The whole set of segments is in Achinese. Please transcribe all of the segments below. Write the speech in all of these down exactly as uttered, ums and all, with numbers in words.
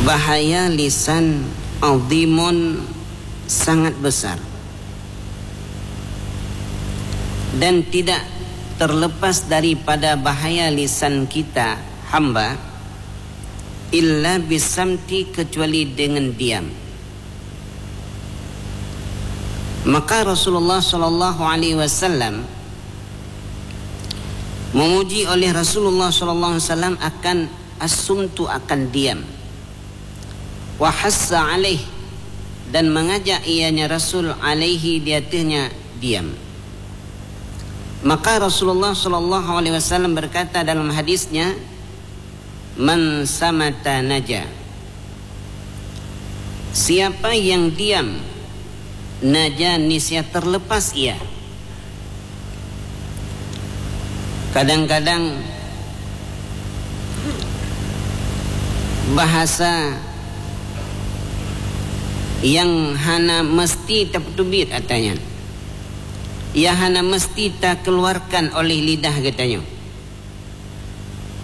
Bahaya lisan azimun, sangat besar, dan tidak terlepas daripada bahaya lisan kita hamba, illa bisamti, kecuali dengan diam. Maka Rasulullah sallallahu alaihi wasallam memuji oleh Rasulullah sallallahu alaihi wasallam akan as-sumtu, akan diam. Wa hassa alaih, dan mengajak ianya Rasul alaihi, di atasnya diam. Maka Rasulullah sallallahu alaihi wasallam berkata dalam hadisnya, "Man samata naja." Siapa yang diam, naja, niscaya terlepas ia. Kadang-kadang bahasa yang hana mesti tapeuteubiet atra nyan, yang hana mesti takeuluarkan oleh lidah geutanyoe.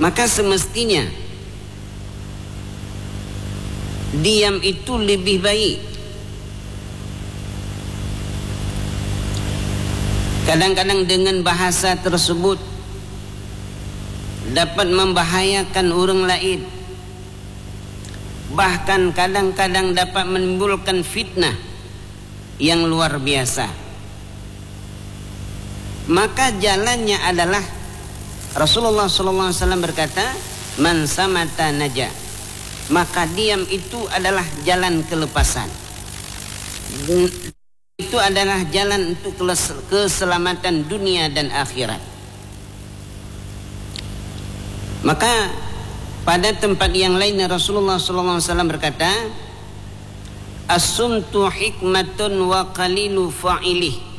Maka semestinya diam itu lebih baik. Kadang-kadang dengan bahasa tersebut dapat membahayakan orang lain, bahkan kadang-kadang dapat menimbulkan fitnah yang luar biasa. Maka jalannya adalah, Rasulullah sallallahu alaihi wasallam berkata, "Man samata naja." Maka diam itu adalah jalan kelepasan. Itu adalah jalan untuk keles-, keselamatan dunia dan akhirat. Maka pada tempat yang lain Rasulullah sallallahu alaihi wasallam berkata, "As-sumtu hikmatun wa qalilu fa'ilih."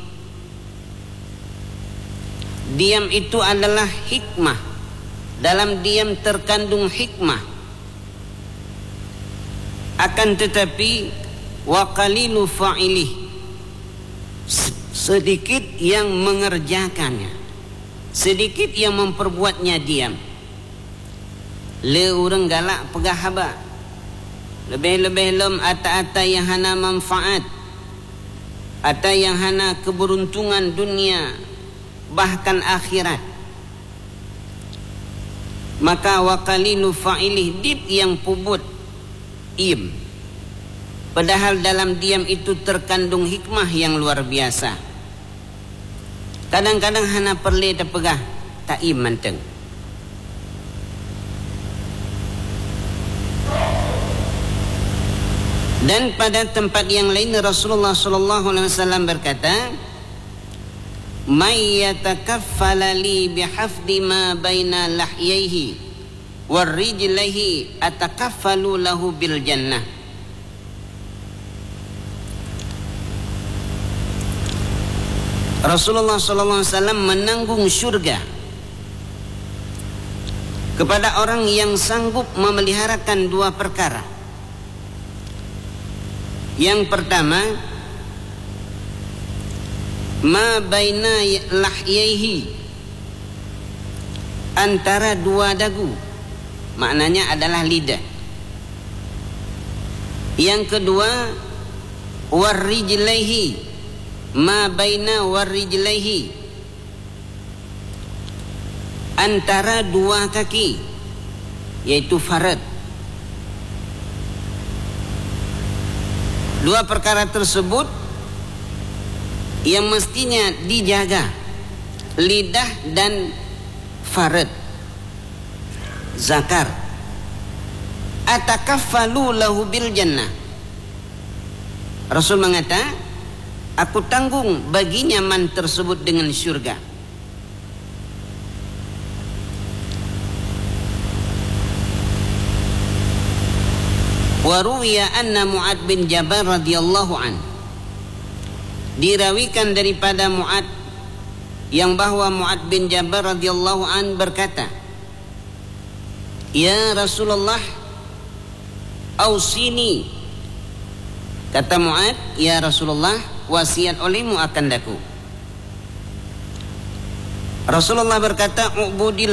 Diam itu adalah hikmah. Dalam diam terkandung hikmah. Akan tetapi, wa qalilu fa'ilih, se-, sedikit yang mengerjakannya, sedikit yang memperbuatnya diam. Le ureuëng galak peugah haba, leubeh-leubeh lom ata-ata nyang hana manfaat, ata nyang hana keubeuruntongan dunia bahkan akhirat. Maka wa qalilu fa'ilih, dit nyang peubuet iem. Padahal dalam diam itu terkandung hikmah yang luar biasa. Kadang-kadang hana peureulée tapeugah, taiem mantong. Dan pada tempat yang lain Rasulullah sallallahu alaihi wasallam berkata, "May yatakaffala li bihafdi ma baina lahyaihi wa rijlaihi atakaffalu lahu bil jannah." Rasulullah sallallahu alaihi wasallam menanggung syurga kepada orang yang sanggup memeliharakan dua perkara. Yang pertama, ma baina lahyaihi, antara dua dagu, maknanya adalah lidah. Yang kedua, warrijlaihi, ma baina warrijlaihi, antara dua kaki, yaitu faraj. Dua perkara tersebut yang mestinya dijaga, lidah dan faraj, zakar. Atakaffalu lahu bil jannah. Rasul mengata, "Aku tanggung baginya man tersebut dengan syurga." Wa ruwiya anna Mu'ad bin Jabal radhiyallahu an. Dirawikan daripada Mu'ad, yang bahwa Mu'ad bin Jabal radhiyallahu an berkata, "Ya Rasulullah, ausini." Kata Mu'ad, "Ya Rasulullah, wasiat olehmu akan daku." Rasulullah berkata, "Ubudillah."